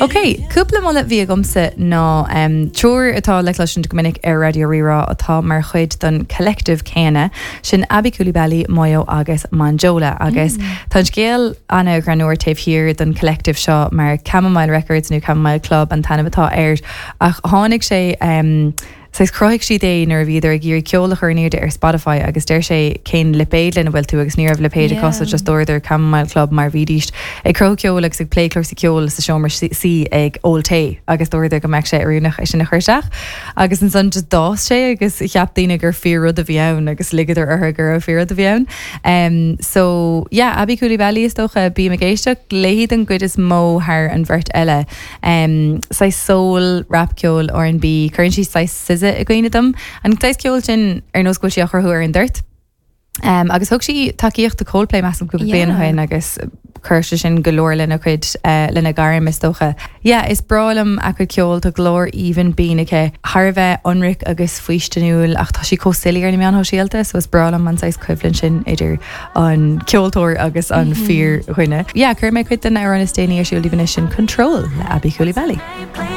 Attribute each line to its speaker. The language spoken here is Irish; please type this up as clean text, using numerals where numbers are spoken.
Speaker 1: Ok, cúpla moladh a bhí agamsa ná triúr atá le cloisint go minic ar Raidió Rí-Rá atá mar chuid den collective céanna, sin Aby Coulibaly, Moyo agus Monjola. Agus tá an scéal ana-ghreannmhar taobh thiar den collective seo mar Chamomile Records nó Chamomile Club an t-ainm atá air ach tháinig sé, Saghas chruthaigh siad é nuair a bhíodar ag iarraidh ceol a chur in airde ar Spotify agus deir sé cén lipéad lena bhfuil tú agus ní raibh lipéad acu so just dúradar Chamomile Club mar bhídís ag cruthú ceoil agus ag plé cúrsaí ceoil sa seomra suí ag ól tae agus dúradar go mbeadh sé oiriúnach é sin a chur isteach agus ansan just d'fhás sé agus cheap daoine gur fíor rud a bhí ann agus ligeadar orthu go raibh fíor rud a bhí ann. Um so yeah Aby Coulibaly is dócha bím ag éisteacht léi den gcuid is mó thar an bheirt eile. Em, saghas soul, rapcheol, R&B, cuireann sí saghas SZA i gcuimhne dom. An saghas ceoil sin ar nós go bhfuil sí á chruthú ar an dtoirt. Em, agus thug sí tacaíocht do Coldplay measaim cúpla bliain ó shin agus chuir sé sin go leor lena cuid, eh, lena gairm is dócha. Yeah, is breá liom a cuid ceoil, tá glór aoibhinn binn aici, thar a bheith ionraic agus faoistiniúil ach tá sí chomh silly ar na meáin shóisialta so is breá liom an saghas coimhlint sin idir an ceoltóir agus an fíordhuine. Yeah, cuirfidh mé cuid den amhrán is déanaí ar siúl daoibh anois sin Control le Aby Coulibaly.